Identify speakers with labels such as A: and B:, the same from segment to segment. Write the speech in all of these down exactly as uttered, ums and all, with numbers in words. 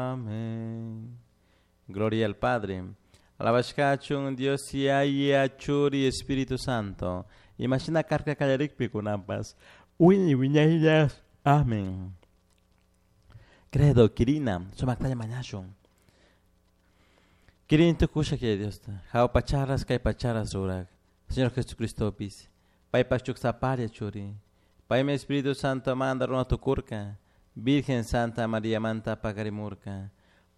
A: Amén. Gloria al Padre. Alabashkachun Dios Yaya Churi Espíritu Santo. Imashina karka kallarikpi kunanpas. Wiñay wiñaylla. Amén. Credo, Kirina, sumaktalla mañashun. Kirin tukusha que Dios. Jahua pacharas kay pacharas rurak. Señor Jesucristo pis. Paypak chuksaparia churi. Paymi Espíritu Santo manda runa tukurka. Virgen Santa María manta pakarimurka.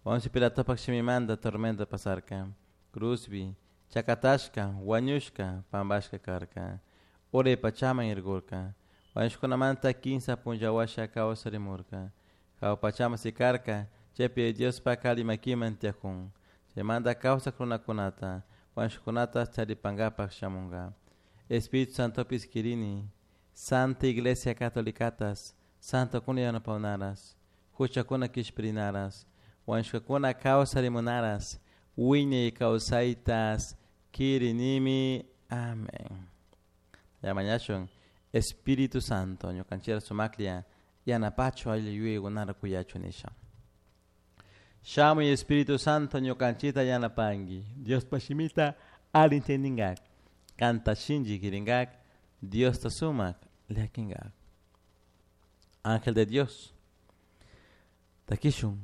A: Poncio Pilatopak shimimanta tormento pasarka. Cruzbi, chakatashka, wañushka, pambashka karka. Uray pachaman irkurka. Wañushkunamanta kinsa punlla washa kawsarimurka. Jahua pachaman sikarka, chaypi Diospak alli makiman tiyakun. Chaymanta kawsak runakunata, wañushkunata charipankapak shamunka. Espíritu Santopis kirini, Santa Iglesia Catolicatas, Santokuna yanapawnaras, huchakuna kishpirinaras, wañushkakuna kawsarimunaras, wiñay kawsaytas kirinimi. Amén. Mañashun Espíritu Santo, ñukanchikta sumaklla yanapachu alli yuyaykunata kuyachu nisha. Shamuy Espíritu Santo ñukanchikta yanapanki. Diospa shimita alli entendingak. Kanta shinchi kiringak. Diosta sumak llakinkak. Ángel de Dios. Takishun.